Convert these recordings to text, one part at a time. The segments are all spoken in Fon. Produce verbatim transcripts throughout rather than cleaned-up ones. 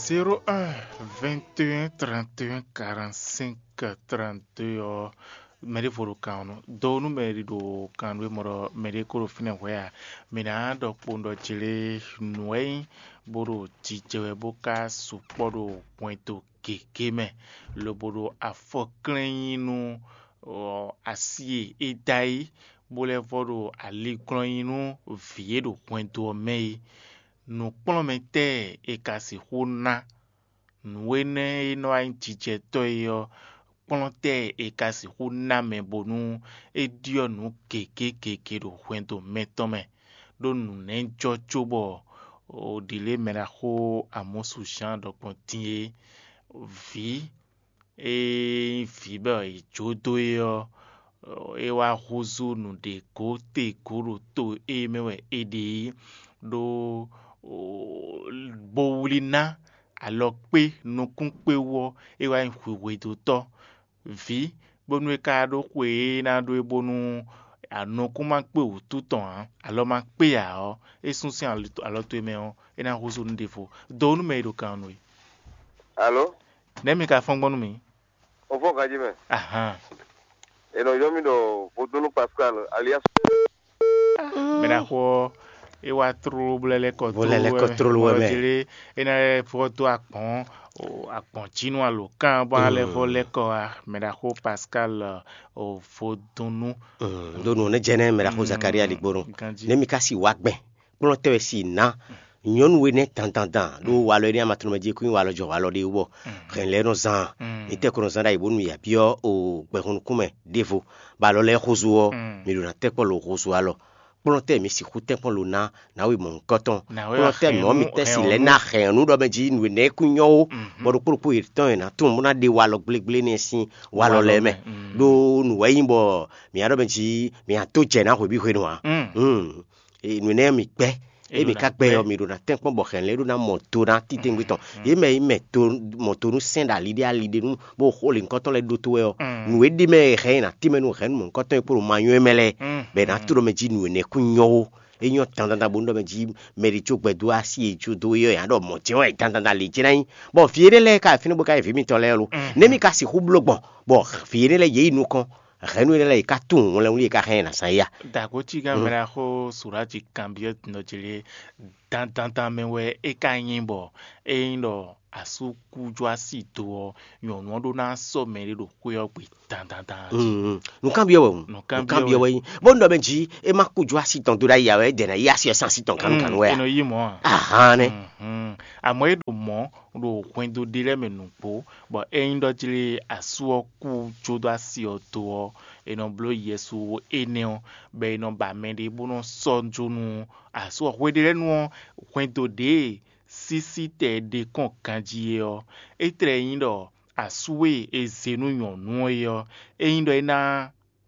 Zéro un, vingt et un, trente et un, quarante-cinq, trente-deux ɔ́, mɛ ɖěvo ɖo kan ɔ́ nú. Do nú mɛ e ɖo kan nú e mɔ ɖɔ mɛ ɖé ko ɖo fínɛ́ hwɛ̌ ǎ. Mǐ ná ɖɔ kpowun ɖɔ jlé nǔ e nyí bó ɖo jijɛ wɛ bó ka sukpɔ́ ɖo hwɛndo gěgé mɛ, lobo ɖo afɔ klɛ́n nyi nú asi e é dó ayí, bó lɛ́ vɔ ɖo ali glɔ́n nyi nú vǐ e ɖo hwɛndo ɔ́ mɛ é. Nǔkplɔ́nmɛtɛ́ e è ka sixú ná nǔ énɛ́ e nɔ wá nyí jijɛtɔ́ é ɔ́, kplɔ́ntɛ́ e è ka sixú ná mɛ bónú é ɖyɔ́ nǔ gěgé gěgé ɖo hwɛndo mɛtɔn mɛ, ɖó nǔ nɛ́ jɔ cóbɔ ɖǐlé mɛɖaxó Amɔ́su Zǎan ɖɔ gbɔn din é. Vǐ e nyí vǐ bɔ è jó dó é ɔ́, é wá húzú nǔɖé gǒ te gǒ ɖo to e mɛ wɛ è ɖe é, ɖó bó wlí ná alɔ kpé nukún kpé wú ɔ́, é wá nyí hwihwedótɔ́. Vǐ, bónú é ka ɖó xwe e ná ɖó é bónú anɔkún ma kpé wǔtu tɔn ǎ, alɔ ma kpé ǎ ɔ́, é sún sín alɔ towe mɛ ɔ́, é ná húzú nú ɖěvo. Dǒ nú mɛ e ɖo kan ɔ́ nú we. Alo? Nɛ̌ mi ka fɔ́n gbɔn nú mì? O fɔ́n ganjí mɛ. Ahan. È nɔ ylɔ́ mì ɖɔ Vodúnnú Pascal alias. Mɛ ɖaxó ɔ́, é wá tlóló bó lɛ́ lɛ́ kɔ Bó lɛ́ lɛ́ kɔ tlóló wɛ mɛ. Jlé é ná lɛ́ vɔ dó agbɔ̌n, o, agbɔ̌n jí nú alǒkan bɔ á lɛ́ vɔ lɛ́ kɔ wá. Mɛ ɖaxó Pascal, o, Vodúnnú. Ɖó nǔ nɛ́ jɛ nɛ́ mɛ ɖaxó Zakaria ɖigbónú. Ganjí. Nɛ́ mi ka si wá gbɛn kplɔ́n tɛ́ wɛ si ná nyɔ̌nu énɛ́ dandandan ɖó walɔ énɛ́ amatlɔmɛ jí kún nyí walɔ jɔ walɔ ɖé wú bɔ hɛn lɛ́ɛ nɔ zán. Mi tɛ́ ko nɔ zán ɖ'ayǐ bónú mi yi abyɔ́ o gbɛhun nukún mɛ ɖěvo, bɔ alɔ lɛ́ɛ xózú ɔ́, mi ɖo ná tɛ́ kpɔ́ lo xózú alɔ. Kplɔ́n tɛ́ mi sixú tɛ́ kpɔ́n lo ná nǎwe mɔ̌hunkɔtɔn. Kplɔ́n tɛ́ mɔ̌ mi tɛ́ si lɛ́ ná hɛn ɔ́ nú ɖɔ mɛ jí nǔ énɛ́ kún nyɔ́ ó, bɔ ɖokpó ɖokpó yětɔn e nǎ tunwun bó ná ɖe walɔ gblégblé nɛ́ sín walɔ lɛ́ɛ mɛ. Ɖó nǔ wɛ nyí bɔ mǐ á ɖɔ mɛ jí mǐ á dó jɛ ná hwebǐ hwenu ǎ. Nǔ énɛ́ mi gbɛ́. Ée mǐ ka gbɛ ɔ́, mǐ ɖo ná tɛ́nkpɔ́n bɔ hɛ̌nlɛ́ ɖó ná mɔ do ná titewungbe tɔn. Yě mɛ e mɛ to mɔ do nú sɛ́n ɖo ali ɖé ali ɖé nú bó xo lě nukɔntɔn lɛ́ɛ ɖótó wɛ ɔ́, nǔ e ɖ'é mɛ e hɛn nyi ná tínmɛ nú hɛ̌nnu mɔ̌hunkɔtɔn e kpo ɖo ma nywɛ́ mɛ lɛ́ɛ, bɔ è nǎ to ɖɔ mɛ jí nǔ énɛ́ kún nyɔ́ ó. É nyɔ́ dandandan bónú ɖɔ mɛ jí mɛ ɖé có gbɛ dó así e jó dó é ɔ́, è nǎ ɖɔ mɔ̌ jɛ́n wɛ è dandandan lě jɛ́n ná nyí. Bɔ vǐ énɛ́ lɛ́ɛ ka yi fínɛ́ bó ka nyí vǐ mitɔn lɛ́ɛ lo. Nɛ̌ mi ka sixú bló gbɔn, bɔ vǐ énɛ́ lɛ́ɛ yě yi nukɔn, hɛ̌nnu énɛ́ lɛ́ɛ yě ka tunwun wlɛnwlí e ka hɛn ɛ ná zán é a? Dǎgocí gán mɛ ná xó Suráji kanbyɔ́ nɔ ce lé dandandan mɛ wɛ é ka nyí bɔ é nyí ɖɔ asú kú jó así do ɔ́, nyɔ̌nu ɔ́ ɖó ná sɔ́ mɛɖé ɖo xwé ɔ́ gbe dandandan jí. Nǔkanbyɔ́ wɛ hǔn. Nǔkanbyɔ́ wɛ nyí. Bó nɔ mɛ jí é má kú jó así tɔn dó ɖ'ayǐ ǎ wɛ, é dɛ ná yí así ɔ́ sín así tɔn gannú gannú wɛ a? É nɔ yí mɔ̌ a? Ahán nɛ́. Àmọ́ é ɖo mɔ̌ ɖo hwɛndo ɖé lɛ́ɛ mɛ nǔgbó, bɔ ényí ɖɔ jlé asú ɔ́ kú jó dó así ɔ́ do ɔ́, è nɔ bló Yɛsu énɛ́ ɔ́, bɔ è nɔ ba mɛɖé bó nɔ sɔ́ jó nú asú ɔ́. Hweɖélɛ́nu ɔ́, hwɛndo ɖě e sísítɛ́ ɖe kɔn ganjí é ɔ́, é tlɛ nyí ɖɔ asú e è zě nú nyɔ̌nu ɔ́ é ɔ́, é nyí ɖɔ é ná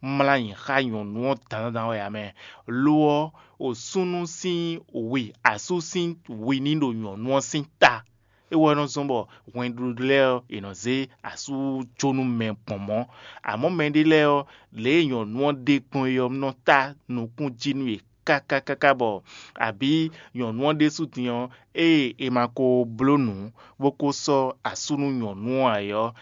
mlá nyi xá nyɔ̌nu ɔ́ dandandan wɛ ǎ mɛ. Lo ɔ́, osúnnu sín wi, asú sín wi ní ɖo nyɔ̌nu ɔ́ sín ta. É wɛ nɔ zɔ́n bɔ hwɛndo lɛ́ɛ ɔ́, è nɔ zé asú jó nú mɛ gbɔn mɔ̌. Amɔ̌ mɛɖé lɛ́ɛ ɔ́, lě e nyɔ̌nu ɔ́ ɖe gbɔn é ɔ́ nɔ tá nukún jí nú yě káká káká bɔ abǐ nyɔ̌nu ɔ́ ɖésú din ɔ́, ée è ma ko bló nǔ bó ko sɔ́ asú nú nyɔ̌nu ɔ́ ǎ é ɔ́,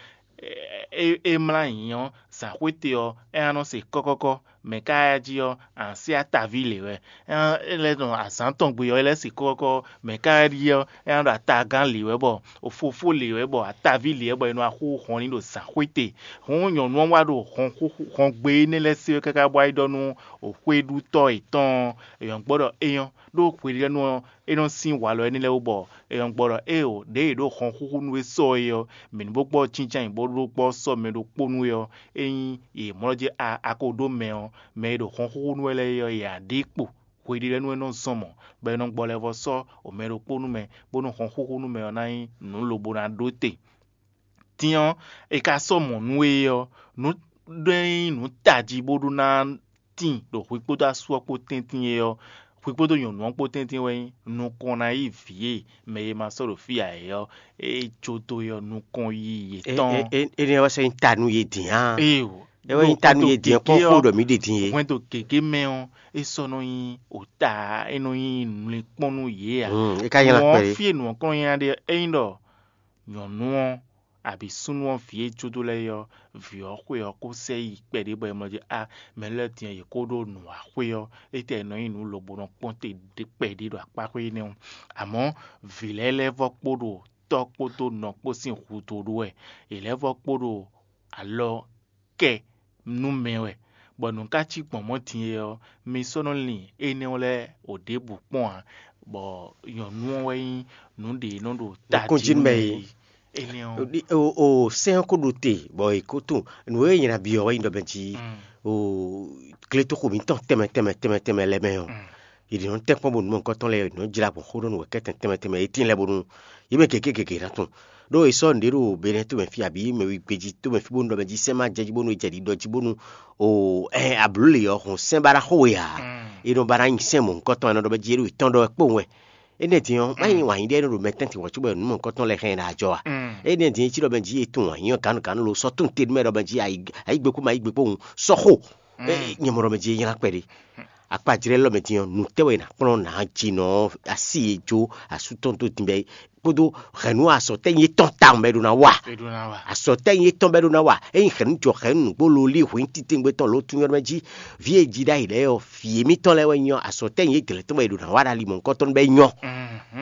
é, é mlá nyǐ ɔ́, zǎnxwéte ɔ́, é ná nɔ se kɔ́kɔ́kɔ́. Mɛ̌ ka wá jí ɔ́, a nǎ se ataví lě wɛ. É lɛ́ nɔ azǎn tɔn gbe ɔ́, é lɛ́ se kɔ́kɔ́kɔ́. Mɛ̌ ka wá ɖíe ɔ́, é ná ɖo atagán lě wɛ, bɔ fofó lě wɛ, bɔ ataví lě wɛ, bɔ è nɔ wá xú hɔn n'i ɖo zǎnxwéte. Hǔn nyɔ̌nu ɔ́ wá ɖo hɔn xúxú hɔn gbe énɛ́ lɛ́ɛ se wɛ káká bɔ wá yi ɖɔ nú xwéɖutɔ́ yětɔn ɔ́, è nɔ gbɔ ɖɔ é nyɔ́, ɖó hweɖénu ɔ́, é nɔ sín walɔ énɛ́ lɛ́ɛ wú bɔ è nɔ gbɔ ɖɔ éeǒ, ɖěe è ɖǒ hɔn xúxú nú we sɔ é ɔ́, mǐ ní bó gbɔ jínjɔ́n ayǐ bó ɖó gbɔ sɔ́ mɛ ɖokpó nú we ɔ́, ényí yě mlɔ́ jɛ a a ko ɖó mɛ ɔ́, mɛ e ɖo hɔn xúxú nú we lɛ́ɛ é ɔ́, yě á ɖe kpo. Hweɖélɛ́nu e nɔ zɔn mɔ̌, bɔ è nɔ gbɔ lɛ́ vɔ sɔ́ mɛ ɖokpó nú mɛ, bónú hɔn xúxú nú mɛ ɔ́ ná nyí nǔ lobo ná ɖó te. Din ɔ́, è ka sɔ́ mɔ̌ nú we ɔ́, nǔ ɖé nyí nǔ tají bó ɖó ná tíin ɖo hwi kpódó asú ɔ́ kpó tɛ́ntin é ɔ́, hwi kpódó nyɔ̌nu ɔ́ kpó tɛ́ntin wɛ nyí nukɔn ná yí vǐ e mɛ e ma sɔ́ ɖo fí ǎ é ɔ́, é jó dó é ɔ́ nukɔn yí yětɔn. Énɛ́ wɛ sɔ́ nyí ta nú yě din á. Éeǒ. É wɛ nyí ta nú yě din kpɔ́n xó ɖɔ mǐ ɖe din é. Hwɛndo gěgé mɛ ɔ́, é sɔ́ nɔ nyí òta, é nɔ nyí nǔlinkpɔ́n nú yě ǎ. É ka nylá kpɛɖé. Fí e nǔ ɔ́ kɔn nyá ɖe ɔ́, é nyí ɖɔ Nyɔ̌nu ɔ́, abǐ súnnu ɔ́ vǐ e jó dó lɛ́ɛ é ɔ́, vǐ ɔ́ xwe ɔ́ kó sɛ yi kpɛɖé bɔ è mɔ jí a mɛ lɛ́ɛ din ɔ́, yě kó ɖó nǔ wá xwé ɔ́, étɛ́ è nɔ nyí nǔ lobo nɔ kpɔ́n te kpɛɖé ɖo akpáxwé énɛ́ ɔ́. Amɔ̌ vǐ lɛ́ɛ lɛ́ vɔ́ kpo ɖo tɔ́ kpódó nɔ kpó sín hudó ɖó wɛ; yě lɛ́ vɔ́ kpo ɖo alɔ kɛ nú mɛ wɛ, bɔ nǔ ka cí gbɔn mɔ̌ din é ɔ́, mi sɔ́ nɔ lin énɛ́ ɔ́ lɛ́ɛ o ɖěbǔ kpɔ́n ǎ, bɔ nyɔ̌nu ɔ́ wɛ nyí nǔ ɖě e nɔ ɖo tají nú mɛ é. Énɛ́ ɔ́, o sɛ́n ɔ́ ko ɖo te, bɔ è ko tunwun nǔ e nyi na byɔ́ wɛ nyí ɖɔ mɛ jí o gletoxo mǐtɔn tɛnmɛ tɛnmɛ tɛnmɛ tɛnmɛ lɛ́ɛ mɛ ɔ́, yě ɖě nɔ tɛ́nkpɔ́n bónú mɔ̌hunkɔtɔn lɛ́ɛ nɔ jlá gbɔn xó ɖɔ nǔ wɛ kɛ́tɛn tɛnmɛ tɛnmɛ, yě tíin lɛ́ɛ bónú yě mɛ gěgé gěgé ná tunwun. Ɖó è sɔ́ nǔɖé ɖo Benɛ́ɛ tomɛ fí abǐ mɛ wígbéjí tomɛ fí bónú ɖɔ mɛ jí sɛ́n ma jɛ jí bónú è jɛ ɖiɖɔ jí bónú o ɛ ablǔ lě ɔ́ hɔn sɛ́n ba ná xo we ǎ. È nɔ ba ná nyi sɛ́n mɔ̌hunkɔtɔn, è nɔ ɖɔ mɛ jí é ɖo yě tɔn ɖɔ wɛ kpowun wɛ. Énɛ́ din ɔ́, má nyí wǎn yíɖɛ nɔ ɖo mɛ tɛ́ntin wɔ̌ cóbɔ nǔ mɔ̌hunkɔtɔn lɛ́ɛ hɛn ɛ ɖo ajɔ a? Énɛ́ din é cí ɖɔ mɛ jí è tunwun wǎn yí ɔ́ gǎnugǎnu lo sɔ́ tunwun te nú mɛ ɖɔ mɛ jí ayǐ gbé kú ma yí gbé kpowun sɔ́ xo. Nyɛ mɔ ɖɔ mɛ jí é nylá kpɛɖé. Akpajlɛ́ lɔ mɛ din ɔ́, nǔ tɛ́ wɛ è nǎ kplɔ́n nǎ jinɔ ɔ́, así e jó asú tɔn dó din bɛ́ kpódó hɛ̌nnu asɔtɛ́nyi étɔn tawun bɛ́ ɖó ná wa. Asɔtɛ́nyi étɔn bɛ́ ɖó ná wa. Ényí hɛ̌nnu jɔ hɛ̌nnu nǔgbó lolí hwǐn titewungbe tɔn lǒtunwun ɔ́ mɛ jí, vǐ e ji ɖ'ayǐ lɛ́ɛ ɔ́, vǐ émítɔn lɛ́ɛ wɛ nyí ɔ́, asɔtɛ́nyi éjlɛ́ tɔn wɛ è ɖo nǎ wa ɖo ali mɔ̌hunkɔtɔn bɛ́ nyɔ́.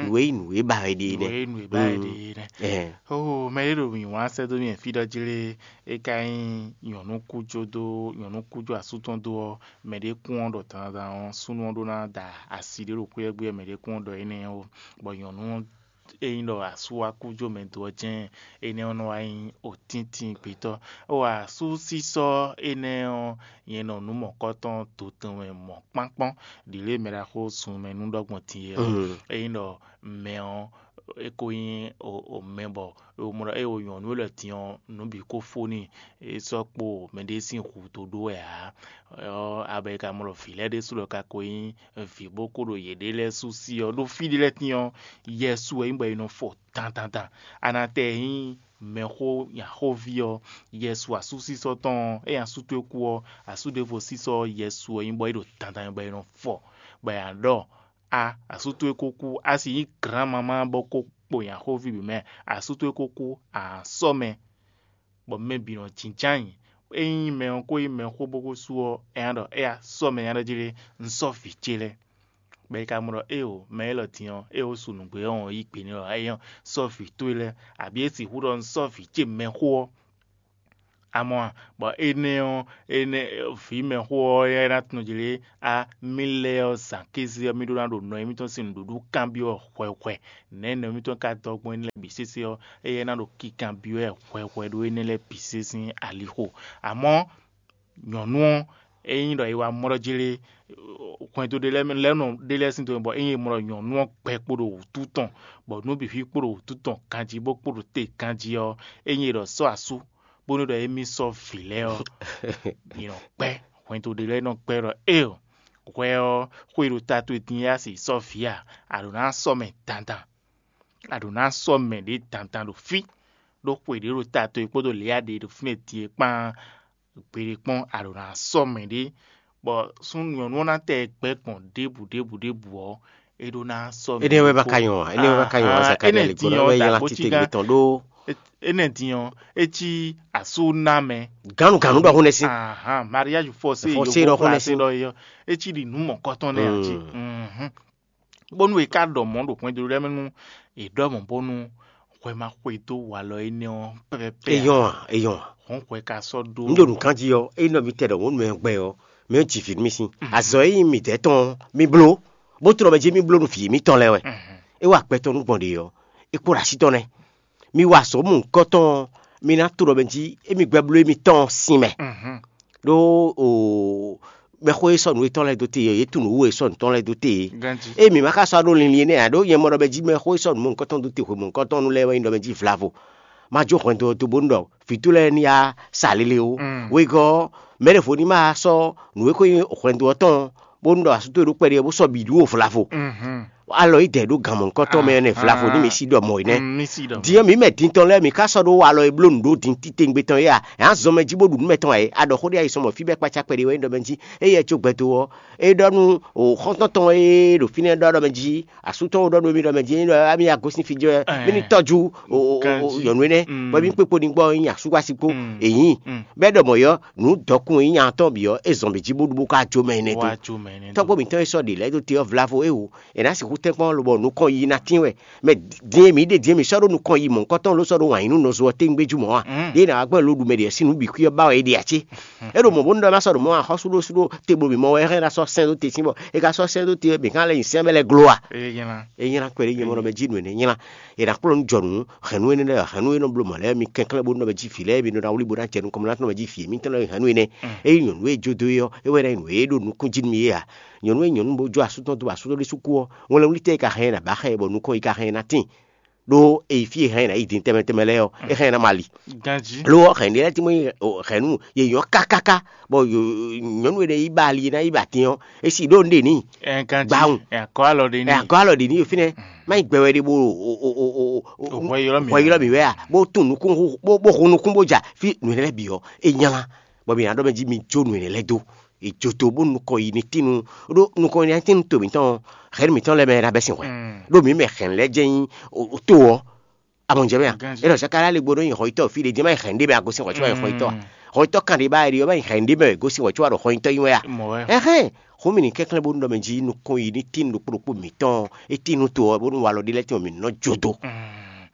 Nǔ e nyí nǔ e ba wɛ ɖe é nɛ́. Ó, mɛ e ɖo mǐ wlán sɛ́ dó mì fí ɖɔ jlé é ka nyí nyɔ̌nu kújó dó nyɔ̌nu kújó asú tɔn dó ɔ́, mɛ ɖé kún ɔ́ ɖɔ dandan ɔ́, súnnu ɔ́ ɖó ná da asi ɖé ɖo xwé ɔ́ gbe wɛ mɛ ɖé kún ɔ́ ɖɔ énɛ́ ó, bɔ nyɔ̌nu ɔ́ e nyí ɖɔ asú wá kú jó mɛ do ɔ́ jɛ́n énɛ́ ɔ́ nɔ wá nyí otíntín gbětɔ́. Ó asúsísɔ́ énɛ́ ɔ́, nyɛ nɔ nǔ mɔ̌kɔ́tɔn dotɛn wɛ mɔ̌kpánkpɔ́n ɖǐ lě mɛ ɖaxó sun mɛ nú ɖɔ gbɔn din é ɔ́, é nyí ɖɔ mɛ ɔ́ é ko nyí mɛ bɔ mɔ ɖɔ é wo nyɔ̌nu élɔ́ din ɔ́, nǔ bǐ ko fó n'i, é sɔ́ kpo mɛɖé sín hu dó ɖó wɛ ǎ. Ɔ́ abɔ è ka mɔ ɖɔ vǐ lɛ́ɛ ɖésú lɔ ka ko nyí vǐ bó kó ɖo yěɖée lɛ́ɛ sú sí ɔ́, ɖó fí ɖé lɛ́ɛ tín ɔ́, Yɛsu wɛ nyí bɔ è nɔ fɔ dandandan. A nǎ tɛ nyí mɛxó nyaxóví ɔ́, Yɛsu asúsísɔ́ tɔn ɔ́, ényí asú towe kú ɔ́, asú ɖěvo sísɔ́ ɔ́, Yɛsu wɛ nyí bɔ é ɖo dandan bɔ è nɔ fɔ, bɔ è nǎ ɖɔ a asú towe ko kú, a sixú nyí glǎnmamá bɔ ko kpo nyaxóví bǐ mɛ, asú towe ko kú, a sɔ́ mɛ, bɔ mɛ bǐ nɔ jínjɔ́n ayǐ. Ényí mɛ ɔ́ ko nyí mɛxó bó ko sú ɔ́, é ná ɖɔ éyá sɔ́ mɛ nya ɖɔ jí ɖé, un sɔ́ vǐ ce lɛ́ɛ. Bɔ è ka mɔ ɖɔ éeǒ, mɛ élɔ́ din ɔ́, é wǒ su nǔgbé ɔ́, yí gbe n'i ɖɔ é nyɔ́ sɔ́ vǐ towe lɛ́ɛ, abǐ é sixú ɖɔ un sɔ́ vǐ ce mɛxó ɔ́. A mɔ a? Bɔ énɛ́ ɔ́, énɛ́ vǐ mɛxó ɔ́ é ná tunwun jlě á, mì lɛ́ɛ ɔ́, zǎn kéze ɔ́, mì ɖó ná ɖo nɔ émítɔn sín nǔɖuɖu kanbyɔ́ hwɛhwɛ. Nɛ̌ nɔ émítɔn ka dɔ́ gbɔn énɛ́ lɛ́ɛ bǐ sésé ɔ́, éyɛ́ ná ɖo kikanbyɔ́ ɛ hwɛhwɛ ɖó énɛ́ lɛ́ɛ bǐ sésé sín alixo. Amɔ̌, nyɔ̌nu ɔ́, ényí ɖɔ è wá mɔ ɖɔ jlé hwɛndo ɖé lɛ́ɛ mɛ lɛ́ɛ nɔ ɖé lɛ́ɛ sín dɔnmɛ bɔ ényí è mɔ ɖɔ nyɔ̌nu ɔ́ gbɛ kpo ɖo wǔtu tɔn, bɔ nǔ bǐ fí kpo ɖo wǔtu tɔn ganjí bó kpo ɖo te ganjí ɔ́, ényí è ɖɔ sɔ́ asú, bónú ɖɔ émí sɔ́ vǐ lɛ́ɛ ɔ́, mǐ nɔ kpɛ́. Hwɛndo ɖé lɛ́ɛ nɔ kpɛ́ ɖɔ éeǒ, hwɛ ɔ́, xwe ɖo ta towe din yá si sɔ́ vǐ a? A ɖǒ ná sɔ́ mɛ dandan. A ɖǒ ná sɔ́ mɛ ɖě dandan ɖo fí, ɖó xwe ɖě ɖo ta towe kpódó lě a ɖe ɖo fínɛ́ din é kpán gbeɖé kpɔ́n a ɖǒ ná sɔ́ mɛ ɖě, bɔ súnnu nyɔ̌nu ɔ́ ná tɛ gbɛ́ gbɔn ɖěbǔ ɖěbǔ ɖěbǔ ɔ́, é ɖó ná sɔ́ mɛ. Énɛ́ wɛ ba ka nyɔ ǎ, énɛ́ wɛ ba ka nyɔ ǎ, Zakalía lě gbɔn wɛ nyí alátítɛ́ gbětɔn ɖó. Énɛ́ din ɔ́, é cí asú ná mɛ. Gǎnugǎnu ɖɔ hún nɛ́ sín. Mariage forcé ɖɔ hún nɛ́ sín. É cí ɖi nǔ mɔ̌kɔtɔn nɛ́ ǎ cí. Bónú è ká ɖɔ mɔ̌ ɖo hwɛndo lɛ́ɛ mɛ nú è ɖɔ mɔ̌ bónú hwɛ ma xwedó walɔ énɛ́ ɔ́ pɛ́pɛ́pɛ́. É nyɔ́ a? É nyɔ́ a? Hɔn hwɛ ka sɔ́ ɖó. Un ɖo nǔkan jí ɔ́, ényí ɖɔ mi tɛ ɖɔ mɔ̌ nú mɛ gbɛ ɔ́, mɛ ɔ́ ji vǐ nú mì sín. Azɔ̌ e nyí midɛɛ tɔn ɔ́, mi bló, bó tlɔ́ mɛ jí mi bló nú vǐ mitɔn lɛ́ɛ wɛ. É wa gbɛ tɔn nú gbɔn ɖě ɔ́, é kpo ɖo así tɔn nɛ́. Mi wa azɔ̌ mɔ̌hunkɔtɔn ɔ́, mi ná to ɖɔ mɛ jí émi gbɛ bló émitɔn ɔ́ sin mɛ. Ɖó o mɛxó e sɔ́ nǔ yětɔn lɛ́ɛ dó te é, yě tunwun nǔ e sɔ́ nǔ tɔn lɛ́ɛ dó te é. Ée mǐ ma ka sɔ́ ɖó linlin énɛ́ ǎ, ɖó nyɛ mɔ ɖɔ mɛ jí mɛxó e sɔ́ nǔ mɔ̌hunkɔtɔn dó te hwe mɔ̌hunkɔtɔn nu lɛ́ɛ wɛ nyí ɖɔ mɛ jí vlavo. Ma jó hwɛndo ɔ́ dó bónú ɖɔ vǐ towe lɛ́ɛ ní yá sa lele ó. Wegɔ́ ɔ́, mɛɖevo ní ma sɔ́ nǔ e ko nyí hwɛndo ɔ́ tɔn bónú ɖɔ asú towe ɖó kpɛɖé ɔ́ bó sɔ́ bǐ ɖú o vlavo. alɔ yi dɛ ɖó gan mɔ̌hunkɔtɔn mɛ nɛ vlavo ní mi sí ɖɔ mɔ̌ é nɛ́. Din ɔ́, mǐ mɛ din tɔn lɛ́ɛ, mǐ ka sɔ́ ɖó alɔ e bló nǔ ɖó din titewungbe tɔn é a? Ě a zɔn mɛ jí bó ɖu nǔ mɛtɔn ǎ é? A ɖɔ xó ɖé ayi sɔmɔ fí bɛ́ kpácá kpɛɖé wɛ é ɖɔ mɛ jí. Éyɛ́ có gbɛdo ɔ́, é ɖɔ nú xɔ́ntɔn tɔn e ɖo fínɛ́ ɖɔ ɖɔ mɛ jí, asú tɔn ɖɔ nú émí ɖɔ mɛ jí, émí ɖɔ émí ya gosín fí jɔ mí ní tɔ́jú nyɔ̌nu énɛ́, bɔ émí kpékpo ní gbɔ nyí asú kpó asi kpó. Èyí bɛ́ ɖɔ mɔ̌ ɔ́, nǔ dɔkun e nyí nya tɔn bǐ ɔ́, é zɔn mɛ jí bó ɖu bó ka jó mɛ énɛ́ dó. Tɔ́gbó mǐtɔn e sɔ́ ɖě lɛ́ɛ dó te ɔ́ vlavo é o, è nǎ sixú tɛ́nkpɔ́n lobɔ nukɔn yi ná tín wɛ. Mɛ din e mǐ ɖe din e mǐ sɔ́ ɖó nukɔn yi mɔ̌hunkɔtɔn ló sɔ́ ɖó wǎn yí nú nɔzo ɔ́ tewungbe jú mɔ̌ a? Yě ná wá gbɔn e lo ɖu mɛ ɖě ɔ́ sín nǔ bǐ xwí ɔ́ ba wɛ é ɖe ǎ cé? É ɖo mɔ̌ bónú ɖɔ é má sɔ́ ɖo mɔ̌ axɔ́súɖósúɖó te blo mǐ mɔ wɛ é hɛn ná sɔ́ sɛn dó te sín bɔ é ka sɔ́ sɛn dó te ɔ́, mǐ ka lɛ́ nyi sɛn bɛ́ lɛ́ glo a? É nyí ná kpɛɖé nyɛ mɔ ɖɔ mɛ jí nǔ énɛ́ nyí ná. È nǎ kplɔ́n nú jɔ nǔ hɛ̌nnu énɛ́ lɛ́ɛ, hɛ̌nnu e nɔ bló mɔ̌ lɛ́ɛ mi kɛnklɛ́n bónú ɖɔ mɛ jí vǐ lɛ́ɛ mi nɔ ná wlí bó ná jɛ nukɔn mɛ ná tɔ́n mɛ jí vǐ émítɔn lɛ́ɛ hɛ̌nnu énɛ́. Ényí nyɔ̌nu e jó dó é ɔ́, é wɛ ná nyí nǔ e ɖo nukún jí nú mi é ǎ. Nyɔ̌nu e nyɔ̌nu bó jó asú tɔn dó bɔ asú tɔn ɖésú kú ɔ́, wɛnlɛ́nwlítɛ́ e ka hɛn ɛ nǎ ba xá ɛ bɔ nukɔn yi ka hɛn ɛ ná tíin. Ɖó e yi fí e hɛn ɛ ná yi din tɛnmɛ tɛnmɛ lɛ́ɛ ɔ́, é hɛn ɛ ná ma li. Lo ɔ́, hɛ̌nnu lɛ́ɛ tín bó nyí hɛ̌nnu yě nyɔ́ kákáká, bɔ nyɔ̌nu e ɖe yi ba ali e ná yi ba atin ɔ́, é si ɖó nǔɖé n'i. Gbawun. Ɛ akɔ alɔ ɖe n'i. Ɛ akɔ alɔ ɖe n'i fínɛ́. Má nyí gbɛ wɛ ɖe bó hwɛ ylɔ́ mǐ wɛ a? Bó tún nukún bó hun nukún bó ja fí nǔ énɛ́ lɛ́ɛ bǐ ɔ́, é nylá. Bɔ mǐ ná ɖɔ mɛ jí mi jó nǔ énɛ́ lɛ́ɛ dó. È jó tó bónú nukɔn yi ní tín nú ɖó nukɔn yi ná tín nú to mǐtɔn ɔ́, hɛ̌nnu mǐtɔn lɛ́ɛ mɛ ná bɛ́ sin hwɛ. Ɖó mǐ mɛ hɛ̌nnu lɛ́ɛ jɛ́n nyí to ɔ́. A mɔ jɛ mɛ a? É ɖɔ Zakalía lé gbo nɔ nyi hɔyitɔ́ fí ɖé jɛ́n má nyi hɛ̌nnu ɖé mɛ a gosín hɔ̌ntu wɛ hɔyitɔ́ a? Hɔyitɔ́ kan ɖé ba wɛ ɖe ɔ́, má nyi hɛ̌nnu ɖé mɛ wɛ gosín hɔyitɔ́ wɛ ɖo hɔyitɔ́ nyi wɛ a? Ɛhɛn, xó mì ní kɛnklɛ́n bónú ɖɔ mɛ jí nukɔn yi ní tín ɖokpó ɖokpó mǐtɔn, é tín nú to ɔ́ bónú walɔ ɖé lɛ́ɛ tín ɔ́ mǐ nɔ jó dó.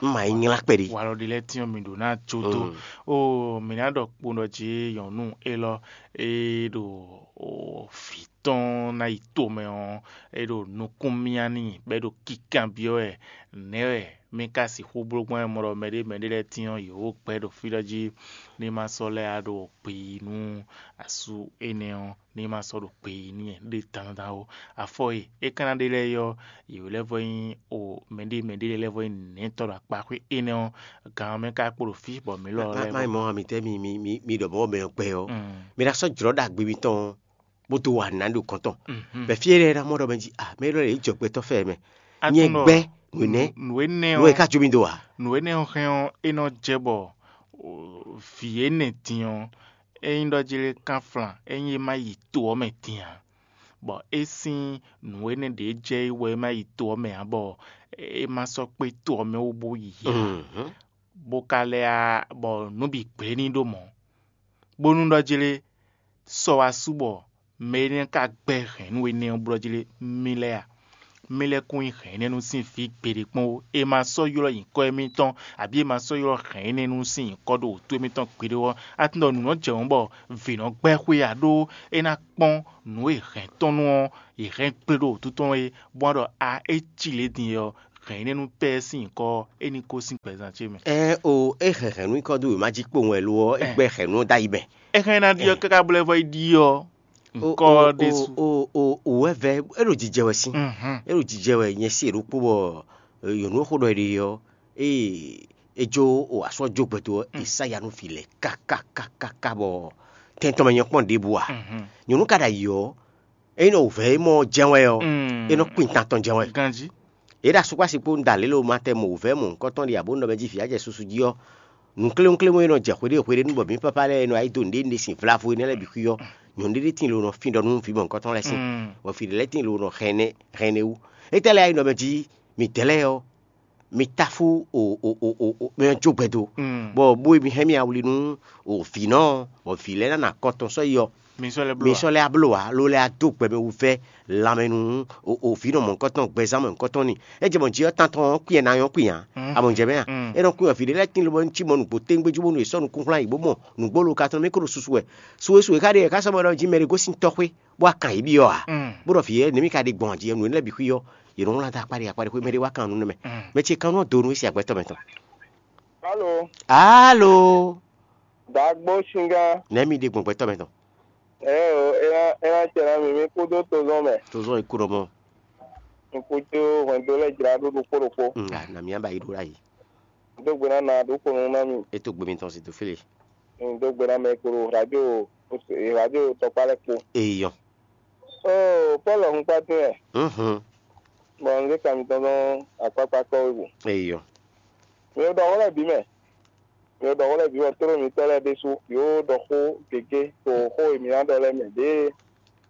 Un ma yi nylá kpɛɖé. Walɔ ɖé lɛ́ɛ tín ɔ́ mǐ ɖǒ ná jó dó. Oo, mǐ ná ɖɔ kpowun ɖɔ jí nyɔ̌nu élɔ́ e ɖo vǐ tɔn ná yi tomɛ ɔ́, é ɖo nukún myá n'i bɔ é ɖo kinkanbyɔ́ wɛ. Nɛ̌ wɛ mì ka sixú bló gbɔn wɛ mɔ ɖɔ mɛɖé mɛɖé lɛ́ɛ tín ɔ́, yě wó gbɛ́ ɖo fí ɖɔ jí ní ma sɔ́ lɛ́ wá ɖo gbe yi nú asú énɛ́ ɔ́, ní ma sɔ́ ɖo gbe yi n'i ɖé dandan ó. Afɔ e é ka ná ɖe lɛ́ɛ é ɔ́, yě lɛ́ vɔ nyí o mɛɖé mɛɖé lɛ́ɛ vɔ nyí nɛ̌tɔ́ ɖo akpaxwé énɛ́ ɔ́, gan ɔ́ mɛ ka kpo ɖo fí bɔ mǐ lɔ lɛ́ɛ má mɔ mi tɛ́ mi mi mi mi ɖɔ mɔ̌ mɛ ɔ́ gbɛ ɔ́, mi ná sɔ́ jlɔ̌ ɖagbe mitɔn bó dó wa nǔ ná ɖo kɔn tɔn. Bɛ̌ fí énɛ́ ná mɔ ɖɔ mɛ jí a mɛ élɔ́ lɛ́ɛ yě jɔ gbɛtɔ́ fɛ mɛ. Nyɛ gbɛ́ nǔ nɛ́ nǔ énɛ́ nǔ e ɔ́, ka jó mi dó a? Nǔ énɛ́ ɔ́ hɛn ɔ́, é nɔ jɛ bɔ vǐ énɛ́ din ɔ́, ényí ɖɔ jí lé kánflán, ényí é má yi to ɔ́ mɛ din ǎ, bɔ é sín nǔ énɛ́ ɖě jɛ é wɛ é má yi to ɔ́ mɛ ǎ, bɔ é má sɔ́ kpé to ɔ́ mɛ wú bó yi ǎ, bó ka lɛ́ á bɔ nǔ bǐ gblé n'i ɖó mɔ̌, bónú ɖɔ jí lé sɔ wá sú bɔ mɛ énɛ́ ka gbɛ́ hɛ̌nnu énɛ́ ɔ́ blɔ́ jí lé mì lɛ́ɛ a? Mì lɛ́ kún nyí hɛ̌n énɛ́ nú sín vǐ gbeɖé kpɔ́n ó. È ma sɔ́ ylɔ́ nyǐkɔ émítɔn, abǐ è ma sɔ́ ylɔ́ hɛ̌n énɛ́ nú sín nyǐkɔ ɖo wǔtu émítɔn gbeɖé ɔ́, a tunɔ nǔ nɔ jɛ mɔ̌ bɔ vǐ nɔ gbɛ́ xwé ǎ, ɖó é ná kpɔ́n nǔ e hɛ̌n tɔn nú ɔ́, è hɛn gblé ɖo wǔtu tɔn é, bó wá ɖɔ a é cí lě din é ɔ́, hɛ̌n énɛ́ nú pɛ́ sín nyǐkɔ ɔ́, é ní gosín gbɛzán ce mɛ. Ɛɛ o, é hɛn hɛ̌nnu nyǐkɔ dó wěma jí kpowun wɛ lo ɔ́, é gbɛ́ hɛ̌nnu ɔ́ dó ayi mɛ. É hɛn ná ɖi ɔ́ káká blɛ́ vɔ é ɖi ɔ́. Nkɔ ɖésú. O wɛ vɛ é ɖo jijɛ wɛ sín. É ɖo jijɛ wɛ nyɛ sí e ɖokpó bɔ nyɔ̌nu e xó ɖɔ è ɖe ɔ́, ée é jó o asú ɔ́ jó gbɛdo ɔ́, è sá ya nú vǐ lɛ́ɛ kákákákáká bɔ tɛn tɔn mɛ nyɔ́ kpɔ́n ɖěbǔ ǎ. Nyɔ̌nu ka ɖo ayǐ ɔ́, ényí nɔ wǔvɛ́ e mɔ ɔ́ jɛ́n wɛ ɔ́, é nɔ kpin tan tɔn jɛ́n wɛ. Ganjí. Yě ɖo asúkpási kpó un da lě lo ma tɛ mɔ wǔvɛ́ mɔ̌hunkɔtɔn ɖi abǒ nɔ mɛ jí vǐ ajɛ susu jí ɔ́, nǔkléwúnkléwún e nɔ jɛ hweɖée hweɖénu bɔ mǐ pápá lɛ́ɛ e nɔ wá yi dó nǔɖé nǔɖé sin vlavo énɛ́ lɛ́ɛ bǐ xwí ɔ́, nyɔ̌nu ɖé ɖé tíin lo nɔ fín ɖɔ nú vǐ mɔ̌hunkɔtɔn lɛ́ɛ sín, bɔ vǐ ɖé lɛ́ɛ tíin lo nɔ hɛn ɛnɛ hɛn ɛnɛ wú. Étɛ́ lɛ́ɛ wá yi nɔ mɛ jí midɛɛ lɛ́ɛ ɔ́, mi táfú o o o o o mɛ ɔ́ jó gbɛdo, bɔ bó e mi hɛn mì awli nú o vǐnɔ ɔ́, bɔ vǐ lɛ́ɛ ná nɔ akɔ tɔn sɔ́ yi ɔ́, mi sɔ́ lɛ́ bló ǎ, ló lɛ́ wá dó gbɛ mɛ wú vɛ́ lanmɛ nú o o vǐnɔ mɔ̌hunkɔtɔn gbɛzán mɔ̌hunkɔtɔn ni. É jɛ mɔ jǐ ɔ́ tantɔn ɔ́ kú yɛ ná nyɔ́ kú nya, a mɔ jɛ mɛ a? É nɔ kú yɔ vǐ ɖé lɛ́ɛ tín lobɔ un cí mɔ nǔgbó téŋgbé jú bónú è sɔ́ nukúnhlán yě bó mɔ nǔgbó lo ka tɔn mɛ é ko ɖo susu wɛ. Suwe suwe ka ɖe yɛ ká sɔ́ mɔ ɖɔ jí mɛ ɖé gosín tɔxwé bó wá kan yě byɔ́ ǎ, bó ɖɔ vǐ yɛ́ nɛ̌ mì ka ɖe gbɔn jí nǔ énɛ́ lɛ́ɛ bǐ xwí ɔ́, yě nɔ wlán dó akpá ɖé akpá ɖé xwé mɛ ɖé wá kan nǔ nɛ́ mɛ. Mɛ ce kan nɔ do nú é sín agbɛtɔ́ mɛ tɔn. Alo. Alo. Dǎgbó Singán. Nɛ̌ mi ɖe gbɔn gbɛtɔ́ mɛ tɔn? Ɛɛ o, é ná é ná jɛ ná mi, mi kúdó tozɔ́n mɛ. Tozɔ́n e kú ɖɔ mɔ. Mi kú jó hwɛndo lɛ́ɛ jlá ɖó ɖokpó ɖokpó. Nga na mi ba yi ɖó ɖ'ayǐ. Dó gbe ná na ɖó kponu ná mi. É tó gbe mitɔn si tó félé. Dó gbe ná mɛ kpo ɖo radio radio tɔkpá lɛ́ɛ kpo. Eyɔn. Oo, Pɔ́lu hun kpá dín wɛ. Mhm. Bɔ un zé kan mitɔn dɔn akpákpá kɔ́ wé gu. Eyɔ. Mi ɖɔ xó lɛ́ɛ bǐ mɛ. Mi ɖɔ xó lɛ́ɛ bǐ bɔ tlóló mitɔ́ lɛ́ɛ ɖésú yǒ ɖɔ xó gěgé to xó e mǐ ná ɖɔ lɛ́ɛ mɛ ɖěe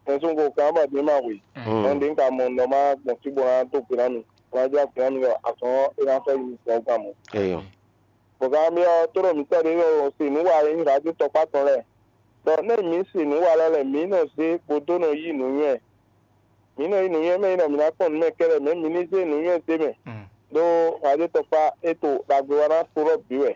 mɛsúngo kan bɔ din ma hwe. Nɔ ɖě un ka mɔ nɔ ma gbɔn fí bó ná dó gbe ná mi, bó ná jlá gbe ná mi ɖɔ azɔn ɔ́ é ná sɔ́ yi mi sɛn gan mɔ. Eyɔ. Bɔ kan byɔ́ tlóló mitɔ́ ɖé ɖɔ se nǔ wa e nyí radio tɔkpá tɔn lɛ́ɛ. Ɖɔ nɛ́ mǐ se nǔ wa lɛ́ɛ lɛ́ɛ mǐ nɔ zé bó dó nɔ yí nǔnywɛ́. Mǐ nɔ yí nǔnywɛ́ mɛ nyí ɖɔ mǐ ná kpɔ́n nǔ mɛ kɛ́ɖɛ́ mɛ mǐ ní zé nǔnywɛ́ zé mɛ. Ɖó radio tɔkpá é to ɖagbe wa ná kplɔ́ bǐ wɛ.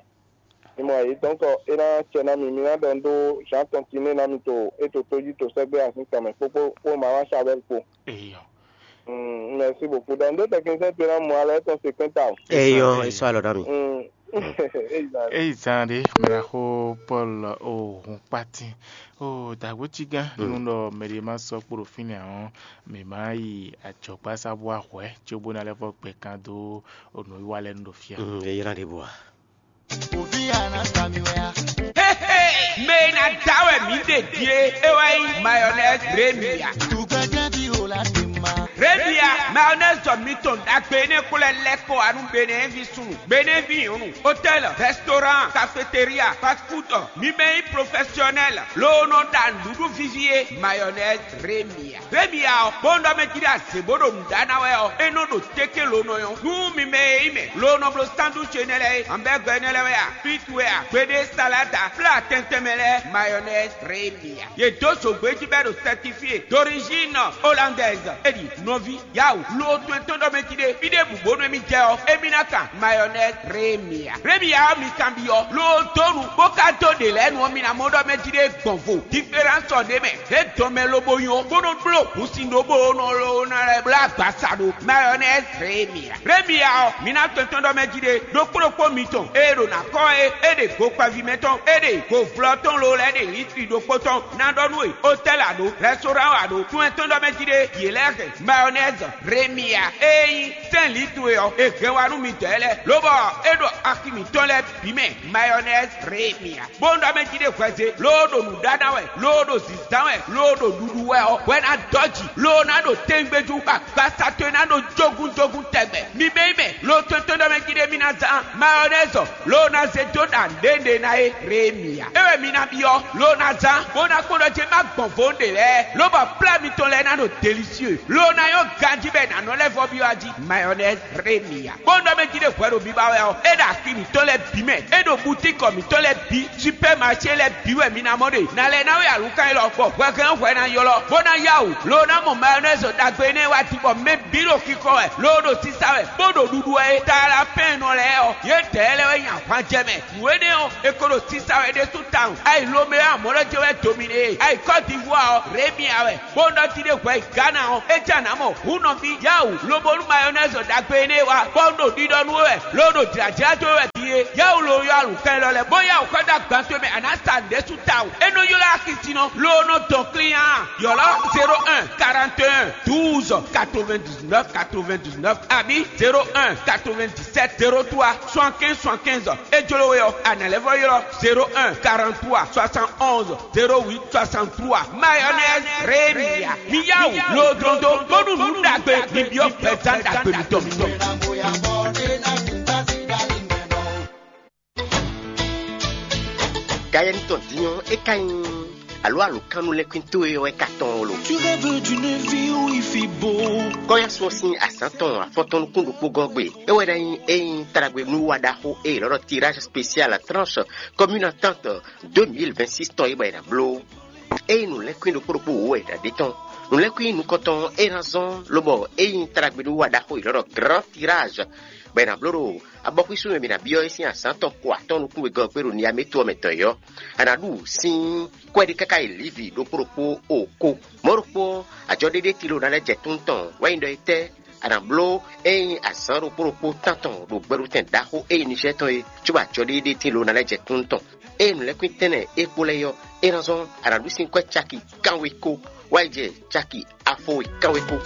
Mi mɔ yě dɔn kɔ é ná cɛ ná mi, mi ná ɖɔ un ɖó Jean tɔn Tiné ná mi to é to tójí to sɛgbɛ azín tɔn mɛ kpókpó kpó Maman Chabel kpó. Eyɔ. Mm, merci beaucoup. Donc, deux techniciens tenant moi là, ton séquenta. Eyɔ, e sɔ alɔ na mi. Mm. Exact. Eyi zan ɖe mla xó Paul o hun kpati o dagbo tigán nínú ɖɔ mɛɖe ma sɔ kpo ɖo fínɛ́ ɔ́, mǐ ma yi adzɔgbá sa bó ahwɛ cóbó ná lɛ́ vɔ gbɛ kan dó onǔwiwa lɛ́ɛ nu ɖo fí a. Mm, e ylɔ́ ɖěbǔ a. Hey, hey, mɛ e ná da wɛ mǐ ɖe din é, é wɛ nyí mayonnaise Remia. Remia, mayonnaise mitɔn ɖagbe énɛ́ xlɛ́ lɛ́ kɔ wá nú Benɛ́vi súnnu, Benɛ́vi nyɔ̌nu, hôtel, restaurant, cafétéria, fast food, mi mɛ nyí professionnel, loo nɔ ɖa nǔɖuɖu víví é, mayonnaise Remia. Remia ɔ́, bó un ɖɔ mɛ jí ɖo azě bó ɖo nǔ ɖa ná wɛ ɔ́, é nɔ ɖo téké lo nɔ nyɔ́. Nú mi mɛ e nyí mɛ lo nɔ bló sandwich énɛ́ lɛ́ɛ é, hamburger énɛ́ lɛ́ɛ wɛ a, frites wɛ a, gbeɖé salada, plat tɛntɛn mɛ lɛ́ɛ, mayonnaise Remia. Yě dó zǒgbé jí bɔ é ɖo certifié d'origine hollandaise. É ɖi nɔví, yawu, lo tɔn tɔn ɖɔ mɛ jí ɖé. Fí ɖěbǔ bónú émí jɛ ɔ́, émí ná kan mayonnaise Remia. Remia ɔ́ mi kanbyɔ́, lo dó nu, bó ka dó ɖě lɛ́ɛ nu ɔ́, mi ná mɔ ɖɔ mɛ jí ɖé gbɔn vo. Différence ɔ́ ɖ'é mɛ. É dɔn mɛ lobo nyɔ, bó nɔ bló hǔnsin ɖó bó nɔ ló ná lɛ́ bló agbasa ɖo mayonnaise Remia. Remia ɔ́, mi ná tɔn tɔn ɖɔ mɛ jí ɖé, ɖokpó ɖokpó mitɔn, é ɖo ná kɔ́ é, é ɖe go kpaví mɛ tɔn, é ɖe go vlɔ tɔn lo lɛ́ɛ ɖe litri ɖokpó tɔn, ná ɖɔ nú we, hôtel a ɖo, restaurant a ɖo, tún ɛ tɔn ɖɔ mɛ jí ɖé, yě lɛ́ hɛn mayonnaise Remia, é nyí sɛ́n litri ɔ́, è hɛn wá nú mi dɔ̌ lɛ́ɛ, lobɔ é ɖo axi mǐtɔn lɛ́ɛ bǐ mɛ, mayonnaise Remia. Bó un ɖɔ mɛ jí ɖé hwɛze, loo ɖo nǔɖaɖa wɛ, loo ɖo zǐzán wɛ, loo ɖo ɖuɖu wɛ ɔ́, hwɛ ná dɔ́ jǐ, loo ná ɖo téńgbéjú, agbasa towe ná ɖo jógúnjógún tɛgbɛ. Mi mɛ yi mɛ, loo tɔn tɔn ɖɔ mɛ jí ɖé mi ná zán mayɔnɛ́zɔ, loo ná zé dó ɖa nǔɖé ɖé ná é, Remia. É wɛ mi ná byɔ́, loo ná zán, bó ná kpɔ́n ɖɔ jɛ má gbɔn vo ɖe lɛ́ɛ, lobɔ plá mitɔn lɛ́ɛ ná ɖo delisieu, loo ná nyɔ́ ganjí bɔ è nǎ nɔ lɛ́ vɔ byɔ́ ají, mayɔnɛ́z Remia. Bó un ɖɔ mɛ jí ɖé hwɛ ɖo biba wɛ ɔ́, é ɖo axi mǐtɔn lɛ́ɛ bǐ mɛ, é ɖo butíkɔ mǐtɔn lɛ́ɛ bǐ, supɛ́maṣé lɛ́ɛ bǐ wɛ mi ná mɔ ɖe. Nǎ lɛ́ ná wɛ alǔkan élɔ́, bɔ hwɛhɛn hwɛ ná ylɔ́, bó ná yá wǔ, lo ná mɔ mayɔnɛ́zi ɖagbe énɛ́ wá din, bɔ mɛ bǐ ɖo xixɔ wɛ, lo ɖo sisa wɛ, bó ɖo ɖuɖu wɛ é. Talapɛ́nnɔ lɛ́ɛ ɔ́, yědɛɛ lɛ́ɛ wɛ nyi ahwan jɛ mɛ. Nǔ énɛ́ ɔ́, è ko ɖo sisa wɛ ɖésú tawun. Ayi Lomeo amɔ̌ lɔ jɛ wɛ dominé, ayi Côte d'Ivoire ɔ́, Remia wɛ. Bó un ɖɔ jí ɖé hwɛ yi Ghana ɔ́, é jɛ nǎ mɔ hǔn nɔví yawu, lobo nú mayɔnɛ́zi ɖagbe énɛ́ wá, bɔ un ɖo ɖiɖɔ nú we wɛ, lo ɖo jlǎjlá dó we wɛ din é. Yawu lo yɔ alukɛn lɔ lɛ́ɛ, bó yawu xɔ dó agban towe mɛ, a nǎ sa nǔɖé sú tawun. É nɔ ylɔ́ axi sin nɔ, lo nɔ dɔn klín a. Ylɔ́ zéro un quarante et un douze quatre-vingt-dix-neuf quatre-vingt-dix-neuf abǐ zéro un quatre-vingt-dix-sept zéro trois soixante-quinze soixante-quinze. É jló we ɔ́, a nǎ lɛ́ vɔ ylɔ́ zéro un quarante-trois soixante-onze zéro huit soixante-trois. Mayonnaise Remia. Mi yá wǔ lodrondo bónú nǔ ɖagbe mi byɔ́ gbɛzán ɖagbe mitɔn. Gayɛni tɔn din ɔ́, é ka nyí alo alokanu lɛ́nkwín towe ɔ́ wɛ ka tɔn lo. Tu rêves d'une vie où il fait beau. Kɔ́yásun ɔ́ sín azǎn tɔn afɔtɔn nukún ɖokpó gɔ́n gbe. É wɛ ná nyí ényí taɖagbe nú wa ɖaxó e è nɔ ɖɔ tirage spécial tranche commune entente deux mille vingt-six tɔn é bɔ è nǎ bló. Ényí nǔlɛ́nkwín ɖokpó ɖokpó wǒ wɛ è nǎ ɖe tɔn. Nǔlɛ́nkwín nukɔntɔn é ná zɔ́n lobɔ ényí taɖagbe nú wa ɖaxó è nɔ ɖɔ grand tirage bɔ è nǎ bló ɖo abɔxwísú e mǐ ná byɔ́ é sín azǎn tɔn ko atɔ́ɔ́n nukún wegɔ́ ɔ́ kpé ɖo Niamé to ɔ́ mɛ tɔn é ɔ́, a nǎ ɖu sín kɔ́ ɖé káká yi Livi ɖokpó ɖokpó o ko. Mɔ̌ ɖokpó ɔ́, ajɔ ɖéɖé tilo ná lɛ́ jɛ tún tɔn wɛ nyí ɖɔ étɛ́ a nǎ bló ényí azǎn ɖokpó ɖokpó tántɔn ɖo gbɛɖutɛn ɖaxó e nyí Nizɛ́ɛ tɔn é, cóbɔ ajɔ ɖéɖé tilo ná lɛ́ jɛ tún tɔn. Ényí nǔlɛ́nkwín tɛ́nnɛ é kpo lɛ́ɛ é ɔ́, é ná zɔ́n a nǎ ɖu sín kɔ́ caki kánwe ko wá yi jɛ caki afo e kánwe ko.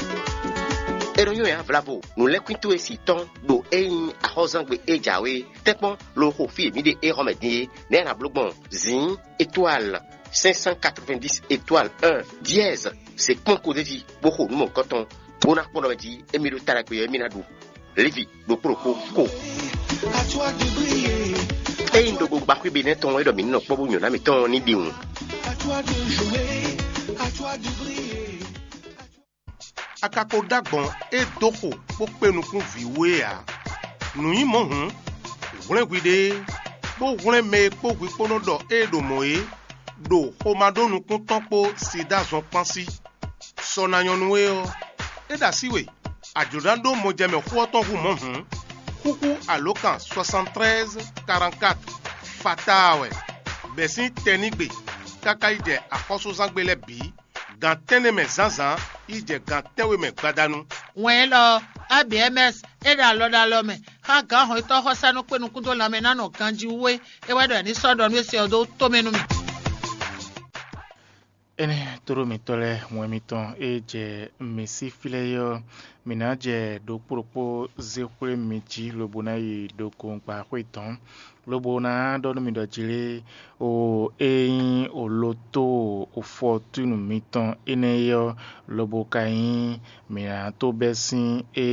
É nɔ nyɔ́ yǎ vlavo nǔlɛ́nkwín towe si tɔn ɖo ényí axɔ́zangbe e jǎwe tɛ́nkpɔ́n lo xo fí e mǐ ɖe é xɔ mɛ din é, nɛ̌ a nǎ bló gbɔn zǐn étoile cinq cent quatre-vingt-dix étoile un dièse se kpɔ́n ko d'é jí bó xo nǔ mɔ̌hunkɔtɔn Bó ná kpɔ́n ɖɔ mɛ jí émí ɖo ta ɖagbe ɔ́, émí ná ɖu. Lévi ɖokpó ɖokpó ko. Ényí ɖokpó gba xwé Benɛ́ tɔn wɛ ɖɔ mǐ ní nɔ kpɔ́ bó nyɔ̌ná mǐtɔn ní ɖi wǔ. A ka ko ɖó agbɔ̌n e dó xo bó kpé nukún vǐ wú é ǎ. Nǔ nyí mɔ̌ hǔn, hwlɛ́n hwiɖée, bó hwlɛ́n mɛ e kpó hwi kpó nɔ ɖɔ ée ɖo mɔ̌ é, ɖo xomá ɖó nukún tɔn kpó Sidáa zɔn kpán sí. Sɔ ná nyɔ́ nú we ɔ́, é ɖo así we, a jlǒ ná ɖó mɔjɛmɛ xó ɔ́ tɔn hú mɔ̌ hǔn, xúxú alǒkan soixante-treize quarante-quatre fataa wɛ, bɛ̌ sín tɛnígbe káká yi jɛ axɔ́súzángbe lɛ́ɛ bǐ, gan tɛ́nnɛ mɛ zǎnzǎn yi jɛ gan tɛ́nwe mɛ gbadanu. Wɛn élɔ́ ɔ́, A B M S é ɖo alɔ ɖo alɔ mɛ xá gǎn hɔnnyitɔ́ xɔsánú kpé nukún dó lanmɛ ná nɔ ganjí wú é, é wɛ ɖɔ è ní sɔ́ ɖɔ nú é se ɔ́ dó tomɛ nú mì. Énɛ́ tlóló mǐtɔn lɛ́ɛ, wɛn mitɔn e jɛ mǐ sí fí lɛ́ɛ é ɔ́, mǐ ná jɛ ɖokpó ɖokpó zé xwlé mi jí lobo ná yi ɖo gongba xwé dɔ̌n, lobo ná ɖɔ nú mi ɖɔ jlé o e nyí oloto fɔtúnu mitɔn énɛ́ é ɔ́, lobo ka nyí mǐ ná tó bɛ́ sín e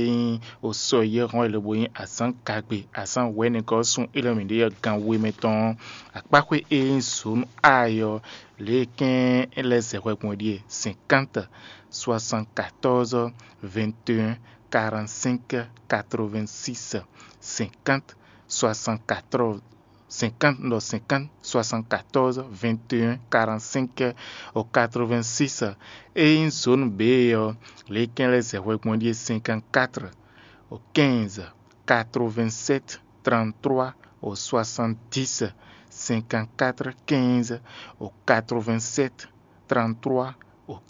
nyí osɔ yɛ́hɔn e lobo nyí azǎn gagbe, azǎn wɛ̌nɛgɔ́ sun élɔ́ mǐ ɖe ɔ́ gan we mɛ tɔn ɔ́, akpáxwé e nyí zǒnu A ɔ́, lě e kɛ́n é lɛ́ zɛ hwɛ gbɔn é ɖíe: cinquante, soixante-quatorze, vingt et un, quarante-cinq, quatre-vingt-six, cinquante, soixante-quatorze, cinquante, non, cinquante, soixante-quatorze, vingt et un, quarante-cinq, quatre-vingt-six. E nyí zone B ɔ́, lě e kɛ́n lɛ́ zɛ hwɛ gbɔn é ɖíe: cinquante-quatre, quinze, quatre-vingt-sept, trente-trois, soixante-dix, cinquante-quatre, quinze, quatre-vingt-sept, trente-trois,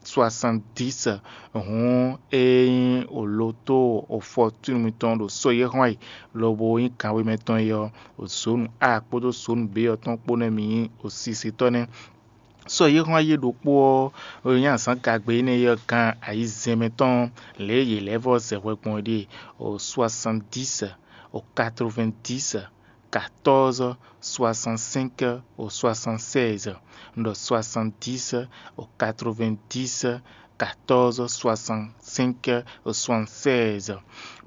soixante-dix. Hǔn e nyí oloto fɔtúnu mitɔn ɖo sɔ́ e xɔ́n ayǐ lobo nyí kanwe mɛtɔn é ɔ́, zǒnu A kpódó zǒnu B ɔ́ tɔn kpó nɛ́ mi nyí osisitɔ́ nɛ́. Sɔ́ e xɔ́n ayí ɖokpó ɔ́, e nyí azǎn gagbe énɛ́ ɔ́ gán ayizɛ́n mɛtɔn lě e yě lɛ́ vɔ́ zɛ hwɛ gbɔn é ɖíe: soixante-dix, quatre-vingt-dix, quatorze, soixante-cinq, soixante-seize, ɖɔ soixante-dix, quatre-vingt-dix, quatorze, soixante-cinq, soixante-seize.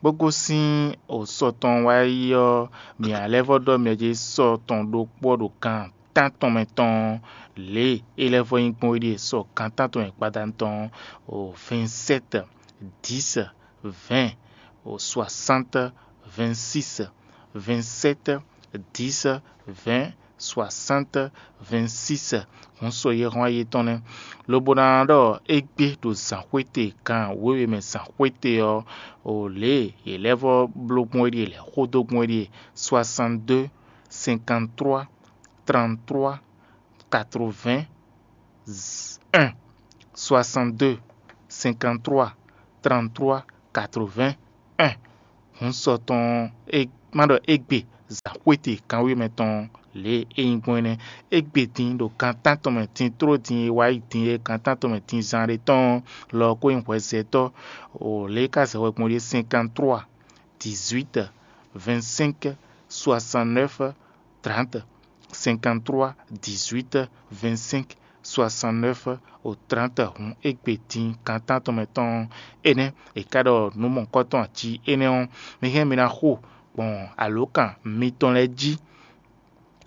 Bó gosín sɔ tɔn wá yi ɔ́, mǐ lɛ́ vɔ́ ɖɔ mɛ jí sɔ tɔn ɖokpó ɔ́ ɖo gan tántɔn mɛ tɔn lě e é lɛ́ vɔ́ nyí gbɔn é ɖíe: sɔ gan tántɔn mɛ gbadanu tɔn, vingt-sept, dix, vingt, soixante, vingt-six, vingt-sept, dix, vingt, soixante, vingt-six. Hǔn sɔ yɛhɔn ayetɔn nɛ́, lobo ná ɖɔ égbé ɖo zǎnxwéte gan wěwe mɛ zǎnxwéte ɔ́, o lě e yě lɛ́ vɔ́ bló gbɔn é ɖíe, lɛ̌ xó dó gbɔn é ɖíe: soixante-deux, cinquante-trois, trente-trois, quatre-vingt-un, soixante-deux, cinquante-trois, trente-trois, quatre-vingt-un. Hǔn sɔ tɔn e má ɖɔ égbé zǎnxwéte kanwémɛ tɔn lě e é nyí gbɔn é nɛ́. Égbé din ɖo gan tántɔn mɛ din tló din e wá yi din e gan tántɔn mɛ din zán ɖé tɔn lɔ ɔ́ kó nyí hwɛzɛtɔ́. O lě e ka zɛ hwɛ gbɔn ɖíe: cinquante-trois, dix-huit, vingt-cinq, soixante-neuf, trente, cinquante-trois, dix-huit, vingt-cinq, soixante-neuf, o trente. Hǔn égbé din gan tántɔn mɛ tɔn énɛ́ è ká ɖɔ nǔ mɔ̌hunkɔtɔn jí énɛ́ ɔ́, mi hɛn mi ná xo gbɔn alǒkan mitɔn lɛ́ɛ jí: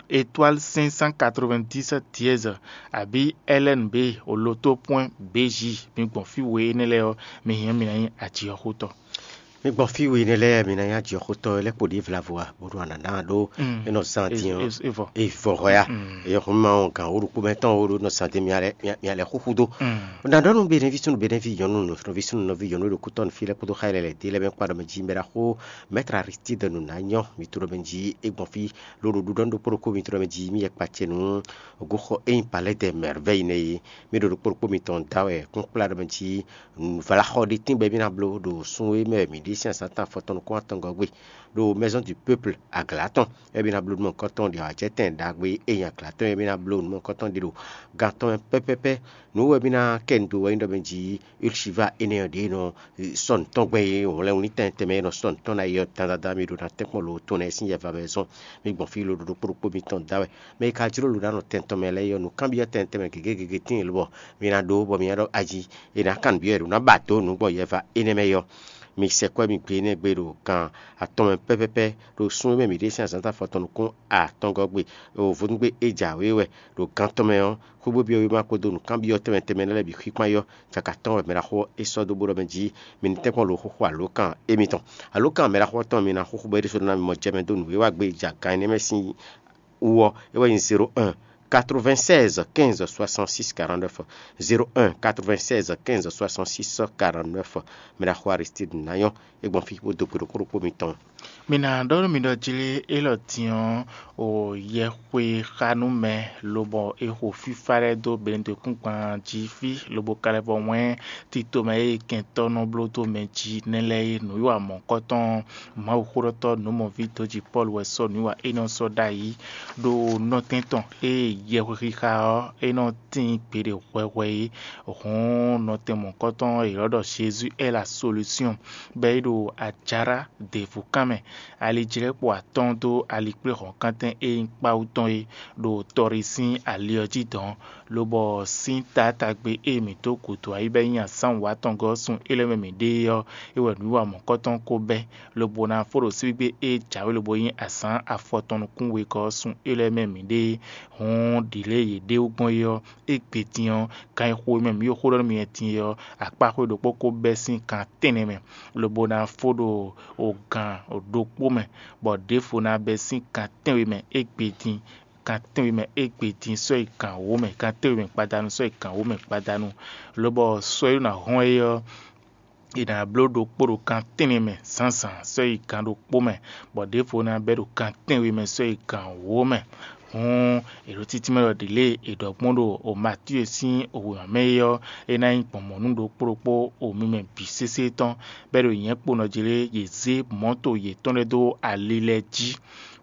étoile cinq cent quatre-vingt-dix dièse, abǐ L N B, oloto point B J. Mi gbɔn fí we énɛ́ lɛ́ɛ ɔ́, mi hɛn mi ná nyí ajǐxótɔ́. Mi gbɔn fí we énɛ́ lɛ́ɛ, mi ná nyí ajǐxótɔ́ lɛ́ɛ kpo ɖě vlavo a, bónú a nǎ ná ɖó é nɔ zán dín ɔ́, é vɔ hɔ́ ya. Eyɔ́ xɔ́n ma ɔ́, gǎn wó ɖokpó mɛ tɔn wó ɖó nɔ zán dín mi alɛ xúxú dó. Nǎ ɖɔ nú Benɛ́ví súnnu, Benɛ́ví nyɔ̌nu, nɔví súnnu, nɔví nyɔ̌nu ɖo kútɔ́ nú fí lɛ́ɛ kpódó xá lɛ́ɛ lɛ̌ dé lɛ́ɛ mɛ kpa ɖɔ mɛ jí mɛ ɖaxó Maître Aristide nǔ ná nyɔ́ mi to ɖɔ mɛ jí é gbɔn fí ló ɖo ɖuɖɔ ɖokpó ɖokpó mi to ɖɔ mɛ jí mi yɛ kpa ce nú goxɔ e nyí Palais des Merveilles nɛ́ é. Mi ɖo ɖokpó ɖokpó mitɔn da wɛ kún kplá ɖɔ mɛ jí vlaxɔ ɖé tíngbɛ mi ná bló ɖo sun e mɛ mi ɖe sín azǎn tɔn afɔtɔn nukún atɔngɔ́ gbe ɖo Maison du Peuple aglǎ tɔn. Éyɛ́ mì ná bló nú mɔ̌hunkɔtɔn ɖi awǎjɛtɛn ɖagbe e nyi aglǎ tɔn é mì ná bló nú mɔ̌hunkɔtɔn ɖi ɖo gan tɔn mɛ pɛ́pɛ́pɛ́. Nǔ wɛ mì ná kɛ nu dó wɛ nyí ɖɔ mɛ jí Ulchiva énɛ́ ɔ́ ɖě nɔ sɔ́ nǔ tɔn gbɛn e hwlɛ́n wlítɛn tɛnmɛ e nɔ sɔ́ nǔ tɔn ná yi ɔ́ dandandan mì ɖo ná tɛ́nkpɔ́n lo tɔn lɛ́ɛ sín yɛva mɛ zɔn. Mi gbɔn fí loɖo ɖokpó ɖokpó mitɔn da wɛ. Mɛ e ka jló lǒ ná nɔ tɛn tɔn mɛ lɛ́ɛ é ɔ́, nǔkanbyɔ́ tɛn tɛnmɛ gěgé gěgé tíin lobɔ mi ná ɖó bɔ mi ná ɖɔ ají è nǎ kan nǔbyɔ́ è ɖǒ ná ba dǒ nǔ gbɔn yɛva énɛ́ mɛ é ɔ́. Mi sɛkpɔ́ mi gbe énɛ́ gbe ɖo gan atɔn mɛ pɛ́pɛ́pɛ́ ɖo sún e mɛ mǐ ɖe sín azǎn afɔtɔn nukún atɔngɔ́ gbe ɖo vodúngbe e jǎwe wɛ ɖo gan tɔn mɛ ɔ́, xwé bó byɔ́ wéma kpódó nǔkanbyɔ́ tɛnmɛ tɛnmɛ lɛ́ɛ bǐ xwíkpán yɔ́ caka tɔn wɛ mɛ ɖaxó ɔ́ é sɔ́ dó bó ɖɔ mɛ jí mi ní tɛ́nkpɔ́n lo xóxó alǒkan émítɔn. Alǒkan mɛ ɖaxó ɔ́ tɔn mi ná xóxó bɔ é ɖésú ná mi mɔ jɛ mɛ dó nǔ e wá gbé ja gan énɛ́ mɛ sín wú ɔ́, é wɛ nyí zéro un quatre-vingt-seize quinze soixante-six quarante-neuf, zéro un quatre-vingt-seize quinze soixante-six quarante-neuf. Mɛ ɖaxó Aristide ná nyɔ́ é gbɔn fí bó dó gbe ɖokpó ɖokpó mitɔn. Mi ná ɖɔ nú mi ɖɔ jlé élɔ́ din ɔ́, o yɛxwexanúmɛ lobɔ è xo fífá lɛ́ɛ dó bɛ̌núdekúngban jí fí lobo ka lɛ́ vɔ wɛ́n tito mɛ e kɛntɔ́ nɔ bló dó mɛ jí nɛ́ lɛ́ɛ é. Nǔwiwa mɔ̌hunkɔtɔn Mawuxóɖɔtɔ́ nǔmɔví dǒjí Pɔ́lu wɛ sɔ́ nǔwiwa énɛ́ ɔ́ sɔ́ ɖ'ayǐ ɖo nɔtɛn tɔn e yɛhwexixa ɔ́ é nɔ tíin gbeɖé hwɛhwɛ é. Hǔn nɔtɛn mɔ̌hunkɔtɔn e è nɔ ɖɔ Jésus est la solution bɔ é ɖo ajará ɖěvo kan mɛ. Alijlɛ́kpo atɔ́ɔ́n dó alikpléhɔ̌nkántɛn e nyí kpáwú tɔn é ɖo tɔɖi sín ali ɔ́ jí dɔ̌n, lobɔ sín taátagbe e mǐ dó gǔdo ayí bɔ é nyí azǎn wǔ atɔngɔ́ ɔ́ sun é lɛ́ɛ mɛ mǐ ɖe é ɔ́, é wɛ nǔwiwa mɔ̌hunkɔtɔn ko bɛ́, lobo ná fó ɖo síbígbe e jǎwe lobo nyí azǎn afɔtɔn nukún wegɔ́ ɔ́ sun é lɛ́ɛ mɛ mǐ ɖe é. Hǔn ɖǐlée yě ɖe wú gbɔn é ɔ́, égbé din ɔ́, kan e xo e mɛ mǐ ɖo xó ɖɔ nú mi wɛ din é ɔ́, akpáxwé ɖokpó ko bɛ́ sín kan tɛ́nnɛ mɛ, lobo ná fó ɖo ogǎn ɖokpó mɛ, bɔ ɖěvo ná bɛ́ sín kan tɛ́nwe mɛ égbé din, kan tɛ́nwe mɛ égbé din sɔ́ yi gǎn wǒ mɛ, kan tɛ́nwe mɛ gbadanu sɔ́ yi gǎn wǒ mɛ gbadanu, lobɔ sɔ́ e ɖo ná hɔn é ɔ́, è nǎ bló ɖokpó ɖo kan tɛ́nnɛ mɛ zǎnzǎn sɔ́ yi gǎn ɖokpó mɛ, bɔ ɖěvo ná bɛ́ ɖo kan tɛ́nwe mɛ sɔ́ yi gǎn wǒ mɛ. Hǔn è ɖo títí mɛ ɖɔ ɖě lě è ɖɔ gbɔn ɖo Matíe sín wěma mɛ é ɔ́, é ná nyí gbɔn mɔ̌ nú ɖokpó ɖokpó o mi mɛ bǐ sésé tɔn, bɔ é ɖo nyɛ̌ kpo nɔ jlé yě zé mɔ̌to yětɔn lɛ́ɛ dó ali lɛ́ɛ jí,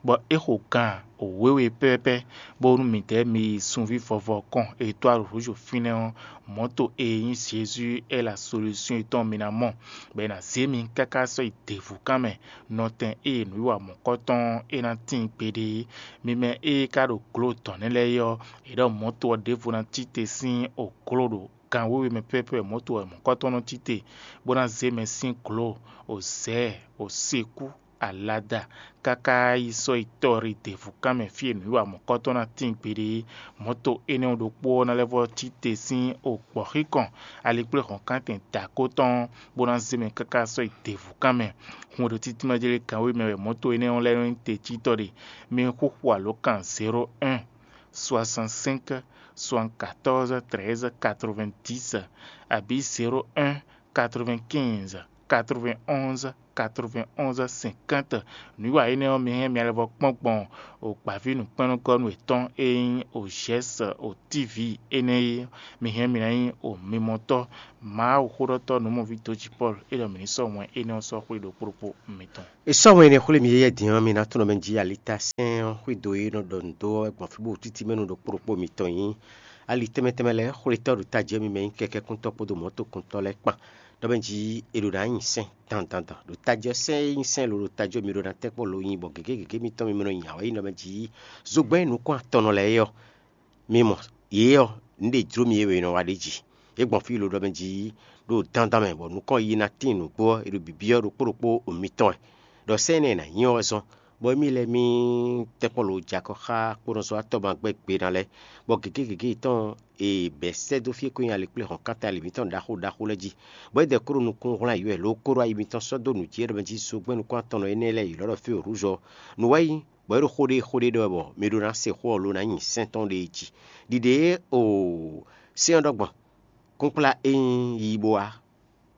bɔ é xo gan wěwe pɛ́pɛ́pɛ́, bónú midɛɛ mi yi sunví vɔvɔ kɔn e dó alǒ húzú fínɛ́ ɔ́, mɔ̌to e nyí Jezu é la solúsyɔn yětɔn mi ná mɔ, bɔ è nǎ zé mi káká sɔ́ yi děvúkan mɛ, nɔtɛn ée nǔwiwa mɔ̌kɔtɔn ɔ́ é ná tíin gbeɖé é. Mi mɛ e ka ɖo glo dɔ̌n nɛ́ lɛ́ɛ é ɔ́, è ɖɔ mɔ̌to ɔ́ ɖěvo ná cí te sín ògló ɖo gan wěwe mɛ pɛ́pɛ́ wɛ mɔ̌to wɛ mɔ̌kɔtɔn nɔ cí te, bó ná zé mɛ sín glo, òzɛ̌, òsekú, alada, káká yi sɔ́ yi tɔ́ ɖi děvúkan mɛ fí e nǔwiwa mɔ̌kɔtɔn ná tíin gbeɖé é. Mɔ̌to énɛ́ ɔ́ ɖokpó ɔ́ ná lɛ́ vɔ́ cí te sín ògbɔ̌xíkɔn alikpléhɔ̌nkántɛn dǎkó tɔn ɔ́, bó ná zé mɛ káká sɔ́ yi děvúkan mɛ. Hun e ɖo títí mɛ jlé kan wěwe mɛ wɛ mɔ̌to énɛ́ ɔ́ lɛ́ɛ nɔ nyí tecítɔ́ ɖe. Mi xúxú alǒkan zéro un soixante-cinq soixante-quatorze treize quatre-vingt-dix abǐ zéro un quatre-vingt-quinze quatre-vingt-onze quatre-vingt-onze cinquante. Nǔwiwa énɛ́ ɔ́, mi hɛn mi alɛvɔ kpɔ́n gbɔn ògbǎví nǔkpɛ́nnɔ́gɔ́nú yětɔn e nyí Ozhɛ́s Otívi énɛ́ é. Mi hɛn mi ná nyí omimɔtɔ́. Mawu xóɖɔtɔ́ nǔmɔví dó jí Pɔ́lu é ɖɔ mǐ ní sɔ́ wɛn énɛ́ ɔ́ sɔ́ xwé ɖokpó ɖokpó mitɔn. È sɔ́ wɛn énɛ́ xwlé mi yɛ́yɛ́ din ɔ́, mi ná tunɔ mɛ jí alitá sɛ́n ɔ́ xwedó e nɔ ɖɔ nǔ dó ɔ́ wɛ gbɔn fí bó títí mɛ nú ɖokpó ɖokpó mitɔn nyí. Ali tɛnmɛ tɛnmɛ lɛ́ɛ xwlétɔ́ ɖo tají ɔ́ mi mɛ nyí kɛkɛ́kúntɔ́ kpódó mɔ̌tokúntɔ́ lɛ́ɛ kpán. Ɖɔ mɛ jí è ɖo ná nyi sɛ́n dandandan ɖo tají ɔ́, sɛ́n e nyí sɛ́n lo ɖo tají ɔ́ mi ɖo ná tɛ́nkpɔ́n lo nyi bɔ gěgé gěgé mitɔn mi mɛ nɔ nyi awǎyi nɔ mɛ jí zogbɛ́n nukún atɔnnɔ lɛ́ɛ é ɔ́, mi mɔ yě ɔ́, nǔ ɖe jló mi é wɛ è nɔ wa ɖ'é jí. É gbɔn fí lo ɖɔ mɛ jí ɖo dandan mɛ bɔ nukɔn yi ná tín nǔgbó ɔ́, è ɖo bǐbyɔ́ ɖokpó ɖokpó mitɔn wɛ. Ɖɔ sɛ́n énɛ́ e nǎ nyí ɔ́ wɛ zɔ́n, bɔ émí lɛ́ɛ mì tɛ́nkpɔ́n lo jɛ akɔ xá kponɔzɔ́watɔ́ ma gbɛ́ gbe ná lɛ́ɛ, bɔ gěgé gěgé yětɔn e bɛ̌ sɛ́ dó fí e ko nyí alikpléhɔ̌nkántɛn ali mǐtɔn ɖaxó ɖaxó lɛ́ɛ jí, bɔ é dɛ kó ɖo nukún hwlɛ́n ayǐ wɛ, lǒ kó ɖo ayi mitɔn sɔ́ dó nǔ jí é ɖɔ mɛ jí zogbɛ́n nukún atɔnnɔ énɛ́ lɛ́ɛ yi lɔ̌ ɖɔ fí o rǔzɔ. Nǔ wá yi, bɔ é ɖo xó ɖé xó ɖé ɖɔ wɛ bɔ mi ɖó ná se xó ɔ́ lo ná nyi sɛ́n tɔn ɖé jí. Ɖiɖe e o sɛ́n ɔ́ ɖɔ gbɔn, kúnkplá e nyí yi bó wá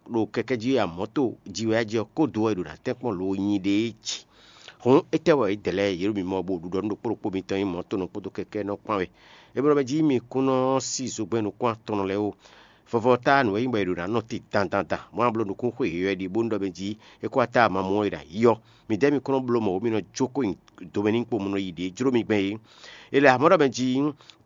ɖo kɛkɛ́ jí wɛ amɔ̌to jí wɛ jí ɔ́ kó do wɛ è ɖo ná tɛ́nkpɔ́n lo nyi ɖe é jí. Hǔn étɛ́ wɛ é dɛ lɛ́ɛ yě ɖo mimɔ bo ɖuɖɔ nú ɖokpó ɖokpó mitɔn nyí mɔ̌tonɔ kpódó kɛkɛ́nɔ kpán wɛ? É blɔ́ mɛ jí mi kún nɔ sí zogbɛ́n nukún atɔnnɔ lɛ́ɛ ó. Vɔvɔ ɔ́ táá nǔ wɛ nyí bɔ è ɖo ná nɔ te dandandan, mɔ̌ a bló nukúnxwe yɔywɛ ɖi bónú ɖɔ mɛ jí é kó wá táá mamɔ ɔ́ è nǎ yi ɔ́. Midɛɛ mi kɔn nɔ bló mɔ̌ mì nɔ jó kó nyi domɛ ní kpo mɔ nɔ yi ɖě jló mi gbɛn é. È lɛ amɔ̌ ɖɔ mɛ jí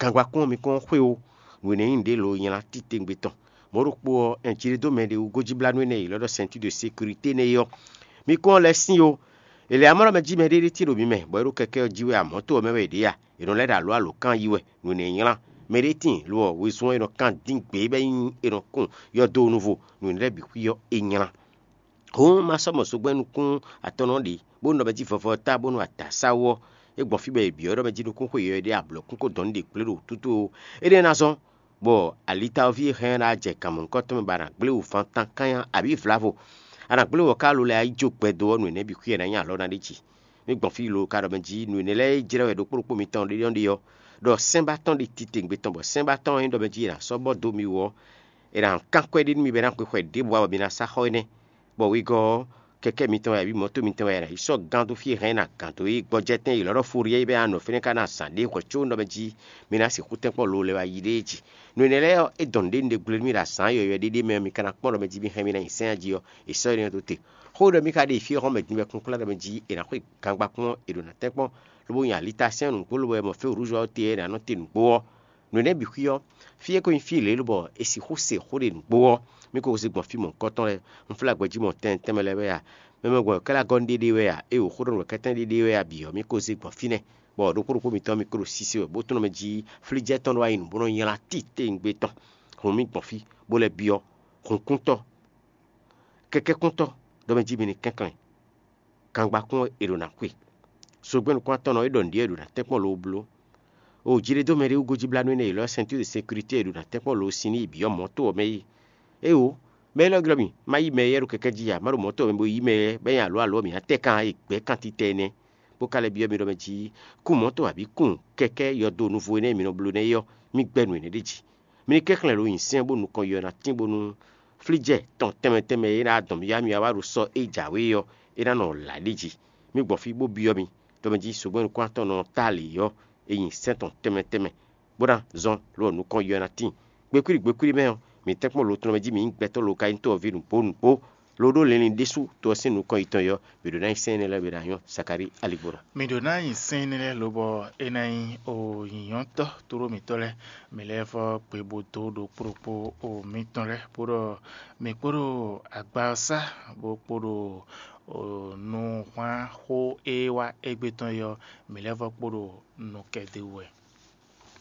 gangba kpɔ́n mi kɔn xwé ó, nǔ énɛ́ nyí nǔɖé lo nylá titewungbe tɔn. Mɔ̌ ɖokpó ɔ́, ɛn jí ɖé dó mɛ ɖé wú gójíblánú énɛ́ e è ylɔ́ ɖɔ sɛntúɖo sekirité nɛ́ é ɔ́, mi kɔn lɛ́ sín ó. È lɛ amɔ̌ ɖɔ mɛ jí mɛɖé ɖé tín ɖo mi mɛ, bɔ é ɖo kɛkɛ́ ɔ́ jí wɛ amɔ̌ to ɔ́ mɛ wɛ è ɖe a? È nɔ lɛ́ ɖo alǒ alǒkan yi wɛ, nǔ énɛ́ nylá. Mɛɖé tíin lo ɔ́, wezun ɔ́ è nɔ kan dín gbě bɔ é nyí è nɔ kun yɔdo nuvo, nǔ énɛ́ lɛ́ɛ bǐ xwí ɔ́, é nylá. Hǔn ma sɔ́ mɔ zogbɛ́n nukún atɔn ɔ́ ɖě, bónú ɖɔ mɛ jí vɔvɔ ɔ́ ta bónú adǎsáwú ɔ́, é gbɔn fí bɔ è byɔ́ ɖɔ mɛ jí nukúnxwe yɔywɛ ɖé ablɔ̌kún ko dɔn ní ɖe kplé ɖo wǔtútú ó. Énɛ́ ná zɔ́n, bɔ alitawoví e hɛn ɔ́ ná jɛ gǎnmɔ nukɔn tɔn mɛ bɔ a nǎ gblé wǔ fán tán kányá abǐ vlavo. A nǎ gblé wɔ̌ká alo lɛ́ɛ yi jó gbɛdo ɔ́, nǔ énɛ́ bǐ xwíɛ ná nyí alɔ ná ɖ'é jí. Mì gbɔn fí lo ka ɖɔ mɛ jí nǔ énɛ́ lɛ́ɛ e jlɛ́ wɛ ɖokpó ɖokpó mitɔn ɖé ɔ́ ɖe ɔ́, ɖɔ sɛ́n ba tɔn ɖe titewungbe tɔn bɔ sɛ́n ba tɔn ɔ́ nyí ɖɔ mɛ jí è nǎ sɔ́ bɔ dó mi wú ɔ́, è nǎ kán kwɛ́ ɖé nú mi bɔ é ná xwe xwɛ ɖěbǔ ǎ bɔ mi ná sá xɔ énɛ́. Bɔ wegɔ́ ɔ́, kɛkɛ́ mitɔn wɛ abǐ mɔ̌to mitɔn wɛ è nǎ yi sɔ́ gán dó fí e hɛn é ná gǎn dó é gbɔjɛ́tɛn è lɔ̌ ɖɔ Foryɛ́ é bɛ́ ná nɔ fínɛ́ ká ná zǎn ɖé hwɛ̌ có nɔ mɛ jí mi ná sixú tɛ́nkpɔ́n lo lɛ́ wá yi ɖéé jí. Nǔ énɛ́ lɛ́ɛ ɔ́, é dɔn nǔɖé nǔɖé gblé nú mì ɖo azǎn yɔ̌yɔ́ ɖé ɖé mɛ ɔ́, mi ka ná kpɔ́n ɖɔ mɛ jí mi hɛn mì ná nyi sɛ́n jí ɔ́, è sɔ́ énɛ́ ɔ́ dó te. Xó ɖɔ mì ka ɖe fí e hɔn mɛ din wɛ kúnkplá ɖɔ mɛ jí è nǎ xwe gangba kpɔ́n è ɖo ná tɛ́nkpɔ́n, lobo nyi alita sɛ́n nǔgbó lobo wɛ mɔ fɛ́ wǔrúzɔ ɔ́ te ɔ́, è nǎ nɔ te nǔgbó ɔ́. Nǔ énɛ́ bǐ xwí ɔ́, fí e ko nyí fí lě lobɔ è sixú se xó ɖe nǔgbó ɔ́, mì ko zé gbɔn fí mɔ̌hunkɔtɔn lɛ́ɛ. Un flá gbɛjí mɔ tɛnmɛ tɛnmɛ lɛ́ɛ wɛ a? Mɛ mɛ gbɔn kɛ́ lɛ́ gɔ́ nú ɖéɖé wɛ a? Éeǒ, xó ɖɔ nǔ wɛ kɛ́tɛ́n ɖéɖé wɛ a bǐ ɔ́, mì ko zé gbɔn fínɛ́, bɔ ɖokpó ɖokpó mitɔn mì ko ɖo sise wɛ, bó tlɔ́n mɛ jí flíjɛ́ tɔn ɖó wá nyi nǔ bó nɔ́ nylá titewungbe tɔn. Hǔn mì gbɔn fí, bó lɛ́ byɔ́ hunkúntɔ́, kɛkɛ́kúntɔ́, ɖɔ mɛ jí mi ní kɛnklɛ́n. Gangba kún è ɖo ná xwe. Zogbɛ́n nukún-atɔ́nɔ e ɖɔ nǔɖé ɔ́ è ɖo ná tɛ́nkpɔ́n loo bló. O jí ɖé dó mɛ ɖé wú gojíblánú énɛ́ e è ylɔ́ ceinture de sécurité è ɖo ná tɛ́nkpɔ́n loo sin n'i bǐ ɔ́ mɔ̌ to ɔ́ mɛ é. Éeǒ, mɛ élɔ́ glɔ́ mì, má yí mɛ éyɛ́ ɖo kɛkɛ́ jí ǎ, má ɖo mɔ̌ to ɔ́ mɛ bo yí mɛ éyɛ́ bɔ é nyí alǒ alǒ ɔ́, mǐ ná tɛ́ kan e gbɛ̌ kantitɛ énɛ́, bó ka lɛ́ byɔ́ mì ɖɔ mɛ jí kún mɔ̌ to abǐ kún kɛkɛ́ yɔdo nuvo énɛ́ e mǐ nɔ bló nɛ́ é ɔ́, mì gbɛ́ nǔ énɛ́ ɖ'é jí. Mi ní kɛnklɛ́n ɖo nyi sɛ́n bó nukɔn yɔ ná tín bónú flíjɛ tɔn tɛnmɛ tɛnmɛ e ná dɔn mì yá mi wá ɖo sɔ́ e jǎwe ɔ́, é ná nɔ lǎ ɖi jí. Mi gbɔn fí bó byɔ́ mi, ɖɔ mɛ jí sogbɛ́n nukún-atɔ́ nɔ tá lě ɔ́, è nyi sɛ́n tɔn tɛnmɛ tɛnmɛ, bó ná zɔ́n lɔ nukɔn yɔ ná tíin. Gbekwíɖi gbekwíɖi mɛ ɔ́, mi tɛ́nkpɔ́n lo tɔn mɛ jí mi nyí gbɛtɔ́ lo ka nyí tó ɔ́ ví nǔgbó nǔgbó, lo ɖó linlin ɖésú to ɔ́ sín nukɔn yětɔn yɔ, mi ɖǒ ná nyí sɛ́n énɛ́ lɛ́ɛ bǐ ná nyɔ́ Sakalíi aligbɔnɔ. Mi ɖǒ ná nyi sɛ́n énɛ́ lɛ́ɛ lobɔ é ná nyí o nyǐnyɔ́tɔ́ tlóló mǐtɔn lɛ́ɛ. Mi lɛ́ vɔ́ gbe bó dó ɖokpó ɖokpó o mitɔn lɛ́ɛ, bó ɖɔ mi kpódó agba ɔ́ sá, bó kpódó o nǔhwanxó e wá égbé tɔn é ɔ́, mi lɛ́ vɔ́ kpódó nukɛn d'é wú wɛ.